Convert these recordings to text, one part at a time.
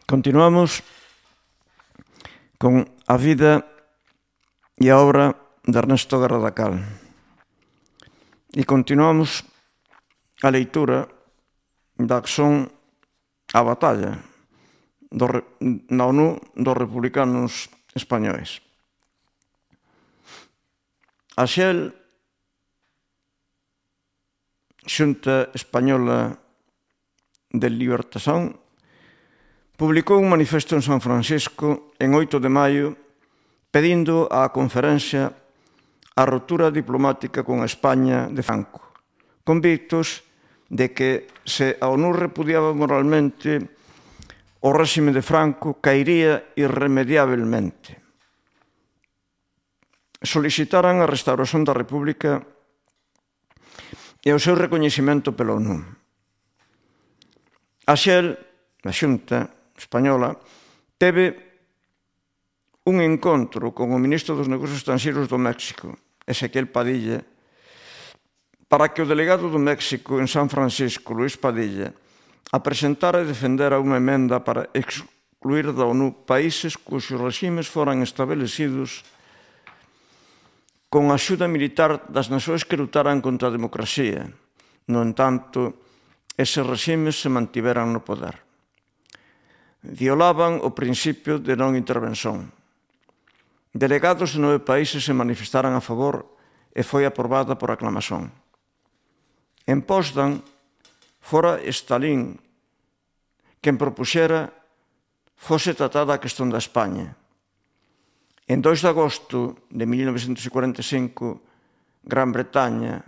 Continuamos con a vida e a obra de Ernesto Guerra da Cal. E continuamos a leitura da que son a batalla na ONU dos republicanos españois. A XEL, Xunta Española de Libertación, publicou un manifesto en San Francisco en 8 de maio pedindo á conferencia a ruptura diplomática con España de Franco, convictos de que se a ONU repudiaba moralmente o réxime de Franco cairía irremediablemente. Solicitaran a restauración da República e o seu recoñecemento pela ONU. A XEL, a Xunta Española, teve un encontro con o ministro dos Negocios Estranxeiros do México, Ezequiel Padilla, para que o delegado do México en San Francisco, Luis Padilla, apresentara e defendera unha emenda para excluir da ONU países cuxos reximes foran establecidos con a axuda militar das nacións que lutaran contra a democracia. No entanto, eses reximes se mantiveran no poder. Violaban o principio de non intervención. Delegados de 9 países se manifestaran a favor e foi aprobada por aclamación. En Potsdam, fora Stalin quen propuxera fose tratada a questón da España. En 2 de agosto de 1945, Gran Bretaña,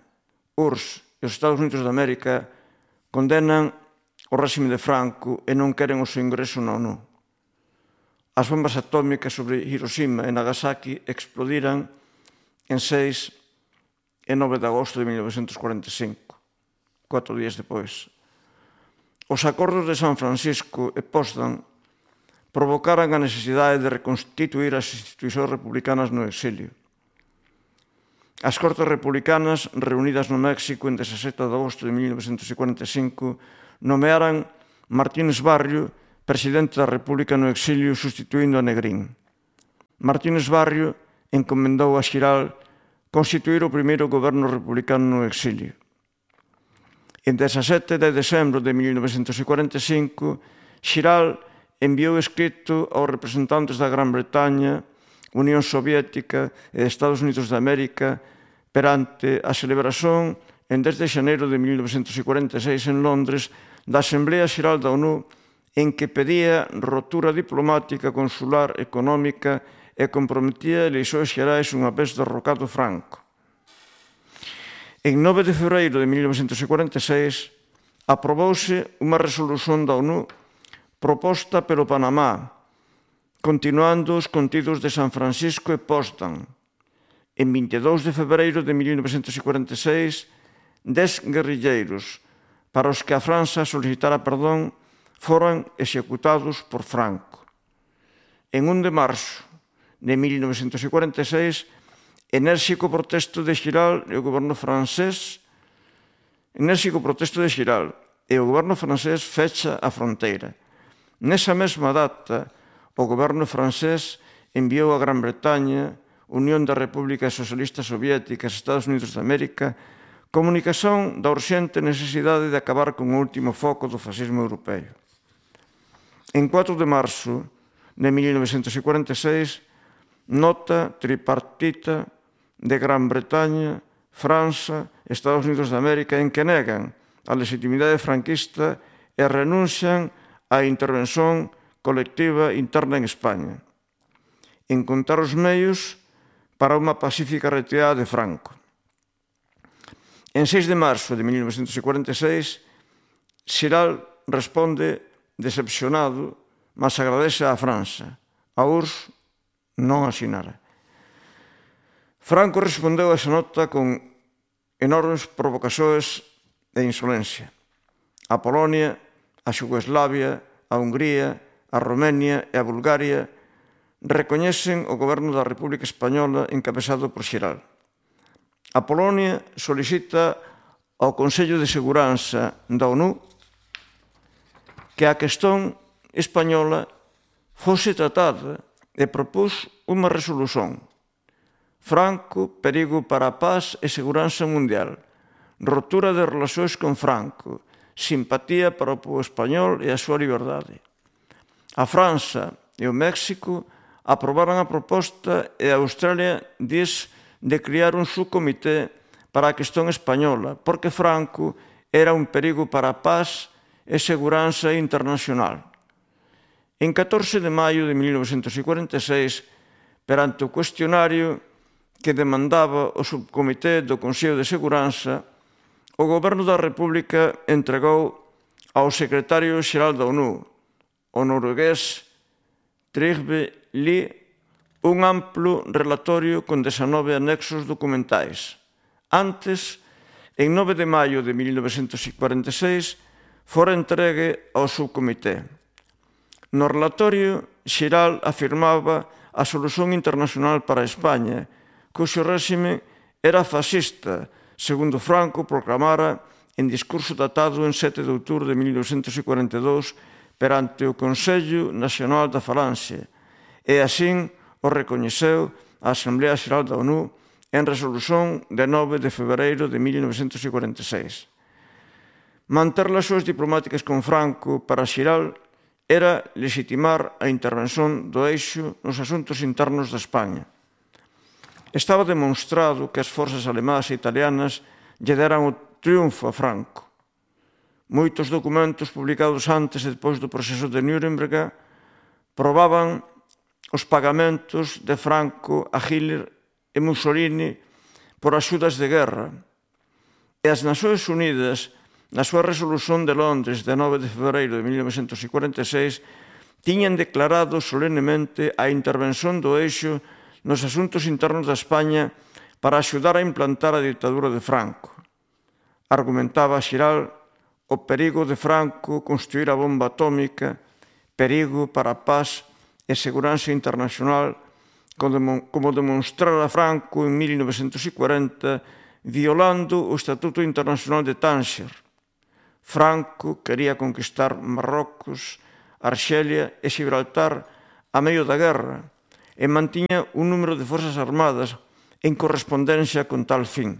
URSS e os Estados Unidos de América condenan o réxime de Franco e non queren o seu ingreso na ONU. As bombas atómicas sobre Hiroshima e Nagasaki explodiran en 6 e 9 de agosto de 1945, 4 días depois. Os acordos de San Francisco e Potsdam provocaran a necesidade de reconstituir as institucións republicanas no exilio. As Cortes Republicanas, reunidas no México en 17 de agosto de 1945, nomearan Martínez Barrio presidente da República no exilio sustituindo a Negrín. Martínez Barrio encomendou a Xiral constituir o primeiro goberno republicano no exilio. En 17 de decembro de 1945, Xiral enviou escrito aos representantes da Gran Bretaña, Unión Soviética e Estados Unidos de América perante a celebración en 10 de xaneiro de 1946 en Londres da Asamblea Xeral da ONU en que pedía rotura diplomática, consular, económica e comprometía eleições xerais unha vez derrocado Franco. En 9 de febreiro de 1946 aprobouse unha resolución da ONU proposta pelo Panamá, continuando os contidos de San Francisco e Potsdam. En 22 de febreiro de 1946, 10 guerrilleiros para os que a França solicitara perdón foran executados por Franco. En 1 de marzo de 1946, enérxico protesto de Xiral e o goberno francés fecha a fronteira. Nesa mesma data, o goberno francés enviou a Gran Bretaña, Unión das Repúblicas Socialistas Soviéticas e Estados Unidos de América comunicación da urxente necesidade de acabar con o último foco do fascismo europeo. En 4 de marzo de 1946, nota tripartita de Gran Bretaña, França e Estados Unidos de América en que negan a legitimidade franquista e renuncian á intervención colectiva interna en España. Encontrar os meios para unha pacífica retirada de Franco. En 6 de marzo de 1946, Xiral responde decepcionado, mas agradece á França. A URSS non asinara. Franco respondeu a esa nota con enormes provocacións e insolencia. A Polonia, a Xugoslavia, a Hungría, a Romania e a Bulgaria recoñecen o goberno da República Española encabezado por Xiral. A Polonia solicita ao Consello de Seguranza da ONU que a cuestión española fose tratada e propús unha resolución. Franco, perigo para a paz e seguranza mundial. Rotura de relacións con Franco. Simpatía para o povo español e a súa liberdade. A França e o México aprobaron a proposta e a Australia dis de criar un subcomité para a cuestión española, porque Franco era un perigo para a paz e seguranza internacional. En 14 de maio de 1946, perante o cuestionario que demandaba o subcomité do Consello de Seguranza, o Goberno da República entregou ao secretario xeral da ONU, o noruegués Trygve Lie, un amplo relatorio con 19 anexos documentais. Antes, en 9 de maio de 1946, fora entregue ao subcomité. No relatorio xeral afirmaba a solución internacional para España, cuxo réxime era fascista, segundo Franco proclamara en discurso datado en 7 de outubro de 1942 perante o Consello Nacional da Falanxe, e así o recoñeceu a Asamblea Xeral da ONU en resolución de 9 de febreiro de 1946. Manter relacións diplomáticas con Franco para Xeral era legitimar a intervención do eixo nos asuntos internos de España. Estaba demonstrado que as forzas alemás e italianas lle deran o triunfo a Franco. Moitos documentos publicados antes e depois do proceso de Nuremberg probaban os pagamentos de Franco a Hitler e Mussolini por axudas de guerra. E as Nacións Unidas, na súa resolución de Londres de 9 de febreiro de 1946, tiñan declarado solemnemente a intervención do eixo nos asuntos internos da España para axudar a implantar a ditadura de Franco. Argumentaba Xeral o perigo de Franco construir a bomba atómica, perigo para a paz e seguranza internacional, como demonstrara Franco en 1940, violando o Estatuto Internacional de Tánger. Franco quería conquistar Marrocos, Arxelia e Gibraltar a medio da guerra, e mantiña un número de forzas armadas en correspondencia con tal fin.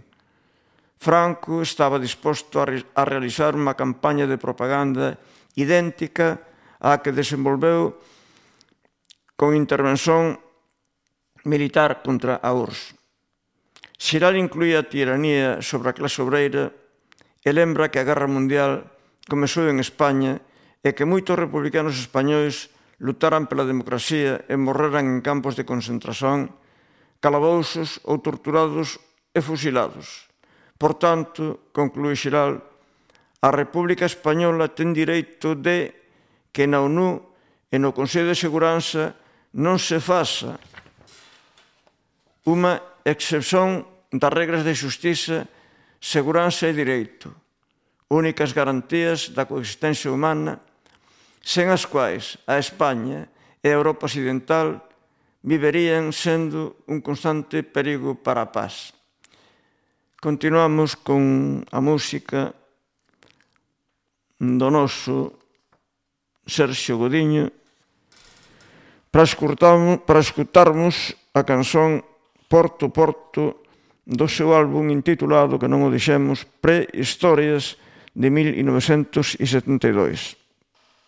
Franco estaba disposto a realizar unha campaña de propaganda idéntica á que desenvolveu con intervención militar contra a URSS. Xeral incluía a tiranía sobre a clase obreira e lembra que a Guerra Mundial comezou en España e que moitos republicanos españois lutaran pela democracia e morreran en campos de concentración, calabousos ou torturados e fusilados. Por tanto, conclúe Xeral, a República Española ten direito de que na ONU e no Consello de Seguranza non se faça unha excepción das regras de xustiza, seguranza e direito, únicas garantías da coexistencia humana, sen as quais a España e a Europa Occidental viverían sendo un constante perigo para a paz. Continuamos con a música do noso Sergio Godiño para escutarmos a canción Porto, Porto do seu álbum intitulado, que non o dixemos, Prehistorias de 1972.